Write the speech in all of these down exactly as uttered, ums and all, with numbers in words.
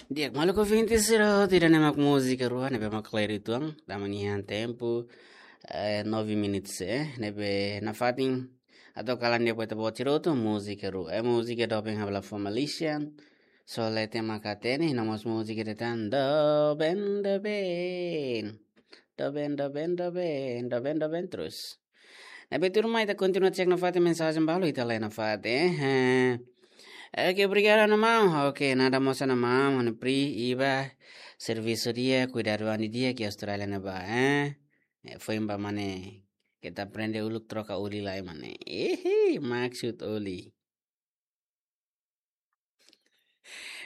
Di'ak, maluk ouvinte sira, ida-ne'e mak múzika rua ne'ebé mak kleur uitoan, dala ida tempu, eh, nove minutos, eh, ne'ebé nafatin atu kalan de'it ba ita-boot sira hotu múzika rua. Eh, múzika doben ha'u bele fó malisan, só leten mak hatene, no mós múzika dehan doben, doben. Doben, doben, doben, doben, doben terus. Ne'ebé tuirmai ita kontinua cek nafatin mensajen balu ita lee nafatin, eh. Eh, oke, obrigadu, maun. Oke, nada mós, maun, ha'u-nia pri iha servisu di'ak, kuidadu an di'ak iha Austrália ne'ebá, eh. Eh, foin ba mane, ita aprende uluk troka oli lai mane. Ehe, maksud oli.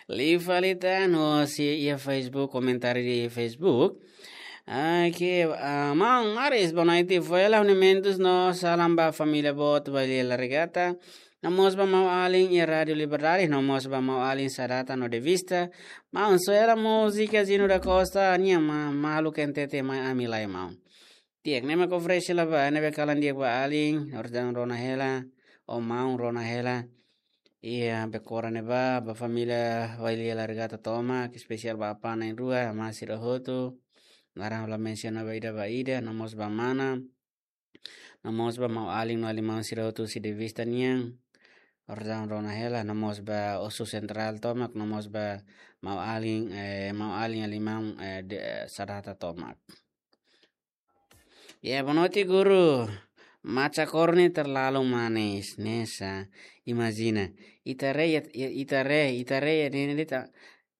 Liu fali tan, no si iha Facebook, komentáriu iha Facebook. Oke, ah, maun Maris, boa noite. Foin hela ha'u-nia mentus no salam ba família boot Bailey Laregata. No mós ba maun-alin iha Rádiu Liberdade, no mós ba maun-alin Sadata no Devista. Maun, só hela múzika Zino da Costa, nian ma-, malu kentete mai ami lai, maun. Di'ak, ne'e mak oferese hela ba, ne'ebé kalan di'ak ba alin, orsida rona hela, o maun rona hela. Iha Becora ne'ebá, ba família Bailey Laregata tomak, espesiál ba apá na'in-rua, amá sira hotu. Laran ha'u la mensiona ba ida ba ida, no mós ba mana. No mós ba maun-alin no alin-maun sira hotu husi Devista nian. Orsida rona hela, no mós ba Osu Sentrál tomak, no mós ba maun-alin, eh, maun-alin alin-maun, eh, de, eh, Sadata tomak. Ya, boa noite, guru. Maca korne terlalu manis, ne'e sá. Imajina. Ita haree, ya, ita haree, ita haree, ne'e, ne'e ta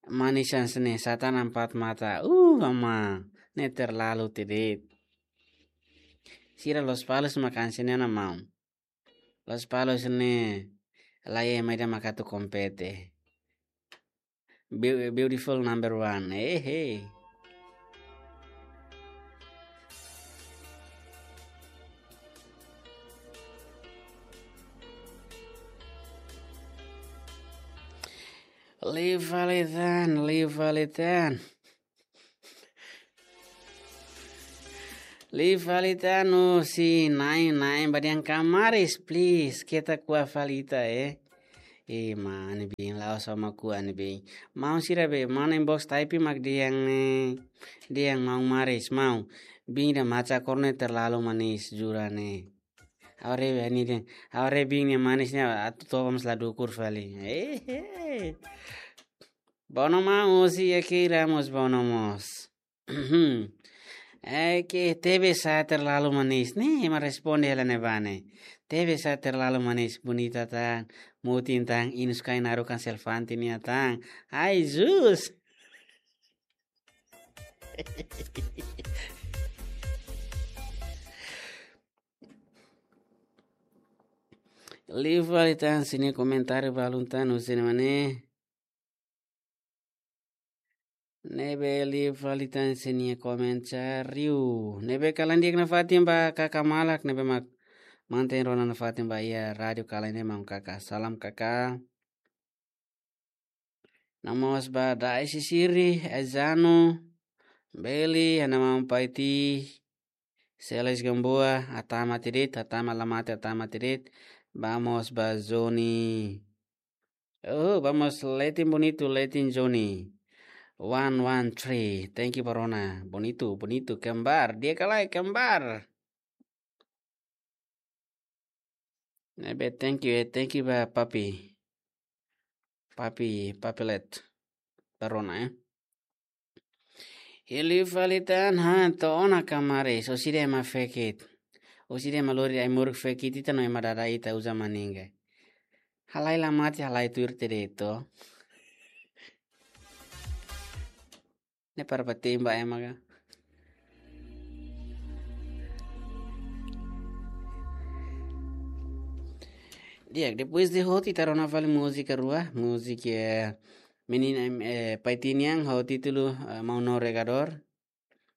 manis hanesan ne'e, satan empat mata. Uh, amá. Ne'e terlalu tebes. Sira Lospalos mak hanesan ne'e ona, maun. Lospalos ne'e, la iha ema ida mak atu kompete. Beau-, beautiful number one. Hey, hey. Liu fali tan, liu fali tan. Liu fali tan, no si na'in, na'in ba dehan Kamaris, please, keta ko'a fali ita, eh. Eh, mane biin, la'ós ha'u mak ko'a ne'e biin. Maun sira be, maun inbox type mak dehan ne'e, dehan maun Maris, maun. Biin ida maca korne terlalu manis, jura ne'e. Ha'u haree be ne'e dehan, ha'u haree biin ne'e manis ne'e, atu toba mós la dukur fali. Eh, eh. Bono maun, si ya kira mós bono mós. Eh, ke tebes sá terlalu manis. Ne'e ema responde hela ne'ebá ne'e. Tebes sá terlalu manis. Bonita tan, mutin tan, inus kain naru kan selfante nia tan. Ai, Jesus. Liu fali tan sira-nia komentáriu balun tan husi ne'e mane. Ne'ebé liu fali tan sira-nia komentáriu. Ne'ebé kalan di'ak nafatin ba kaka malak, ne'ebé mak mantein rona nafatin ba iha rádiu kalan ne'e maun kaka. Salam kaka. No mós ba Daisy Siri, Ezano, Beli, Ana Maun Paiti, Seles Gamboa, hatama tiha de'it, hatama la mate, hatama tiha de'it. Vamos ba Zoni. Oh, vamos, Letin Bonitu, Letin Zoni. One, one, three. Thank you, ba rona. Bonitu, bonitu, kembar. Di'ak ka lae, kembar. Ne'ebé, thank you, eh, thank you ba Papi. Papi, Papi Let. Ba rona, eh. Liu fali tan, ha, to'o ona Kamaris, orsida ema fekit. Orsida ema lori ai-moruk fekit ita no ema dada ita uza maninga. Halai la mate, halai tuir tiha de'it. Ne'e para ba temba ema ka. Di'ak, depois de hotu ita rona fali múzika rua, múzika, eh, menina, eh, Paiti nian ho títulu, eh, Maun No Regador.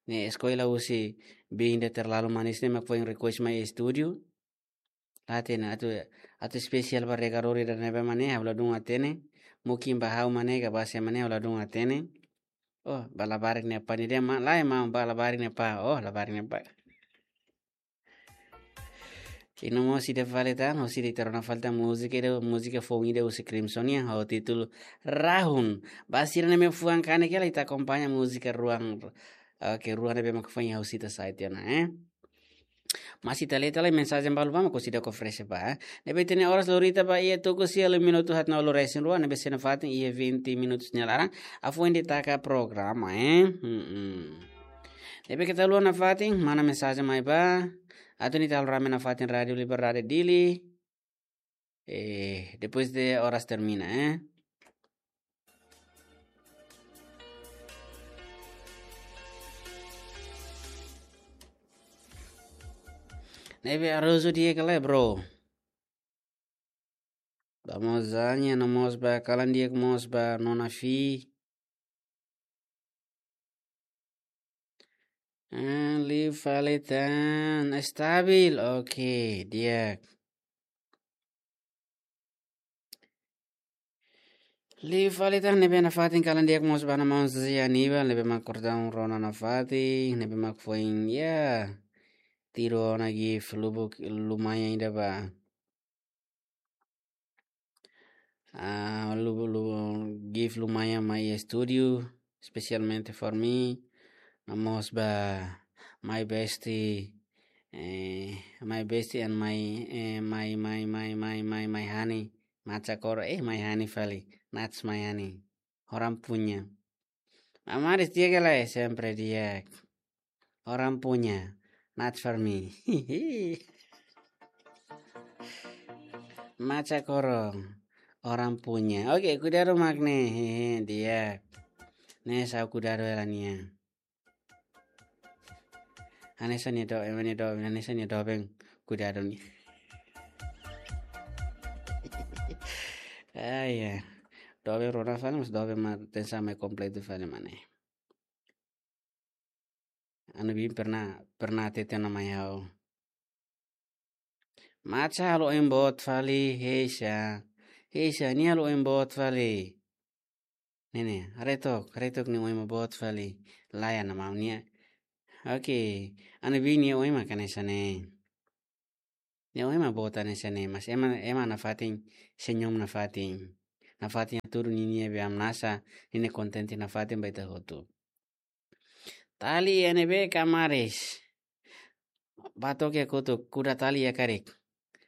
Ne'e eskola husi biin ida terlalu manis ne'e mak foin request mai estúdiu. La hatene atu, atu espesiál ba Regador ida ne'ebé mane, ha'u ladún hatene. Mungkin ba ha'u mane, ka ba sé mane, ha'u ladún hatene. Oh, ba labarik nia apá ne'e dehan, ma-, lae maun, ba labarik nia apá. Oh, labarik nia apá. I no mós ida fali tan, hosi ida ita rona fali tan múzika ida, múzika foun ida husi Crimson nian, ho títulu Rahun. Ba sira ne'ebé fuan kanek hela ita akompaña múzika ruan. Oke, ruan ne'ebé mak foin ha'u sita sai tiha ona, eh. Mas ita lee tiha lai mensajen balu ba mak orsida ko fresh ba, eh. Ne'ebé ita-nia oras lorita ba iha tuku sia liu minutu haatnulu resin rua, ne'ebé sei nafatin iha vinte minutus nia laran. Afoin ita taka programa, eh. Hmm. Ne'ebé keta haluha nafatin, mana mensajen mai ba. Atu ita halo rame nafatin Rádiu Liberdade Dili. Eh, depois de oras termina, eh. Ne'ebé arroz di'ak ka lae, bro? Ba mozanya no mós ba kalan di'ak mós ba nona fi. Ah, liu fali tan, estabil. Oke, di'ak. Liu fali tan, ne'ebé nafatin kalan di'ak mós ba nona maun Zia Aníbal, ne'ebé mak kordaun rona nafatin, ne'ebé mak foin, ya, tiru ona gift lubuk lumayan ida ba. Ah, lu-, lu-, gift lumayan mai estúdiu, espesialmente for me. No mós ba my bestie, eh, my bestie and my, eh, my, my honey, Macha Koro, eh, my honey fali, Nats my honey. Orang punya. Amaris di'ak ka lae, sempre di'ak. Orang punya, not for me. Macha Koro, orang punya. Oke, kuidadu mak ne'e, hehe, di'ak. Ne'e sá kuidadu hela nia. Hanesan nia do, ema nia do, hanesan nia doben kuidadu nia. Ah, ya. Doben rona fali, mas doben mak tensa mai kompletu fali mak ne'e. Anu bin pernah, pernah hatete ona mai ha'u. Macha halo oin boot fali, Heisa. Heisa, nia halo oin boot fali. Ne'e ne'e, haree took, haree took nia oin mak boot fali. Lae, nia maun nia. Oke, anu bin nia oin mak hanesan ne'e. Nia oin mak boot hanesan ne'e, mas ema, ema nafatin, senyum nafatin. Nafatin hatudu ninia be hamnasa, ninia kontente nafatin ba ita hotu. Tali iha ne'ebé ka maris? Ba took iha kotuk, kuda tali iha karik.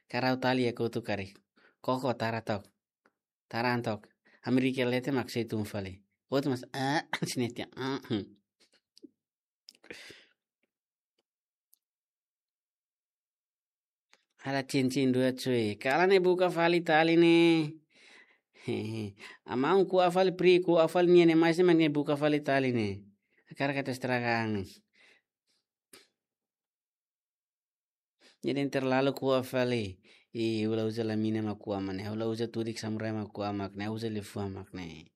Karau tali iha kotuk karik. Koko tara took. Tara an took. Amerika leten mak sei tun fali. Hotu mas, ah, sini tiha, ah, hmm. Ada cincin dua, cuy. Kalan ne'e buka fali tali ne'e. Hehe. Amaun ko'a fali pri, ko'a fali nia ne'e, mais ne'e mak nia buka fali tali ne'e. Hakarak atu estraga an. Jadi terlalu ko'a fali. Ih, ha'u la uza laminan mak ko'a mak ne'e. Ha'u la uza tudik samurai mak ko'a mak ne'e. Ha'u uza liafuan mak ne'e.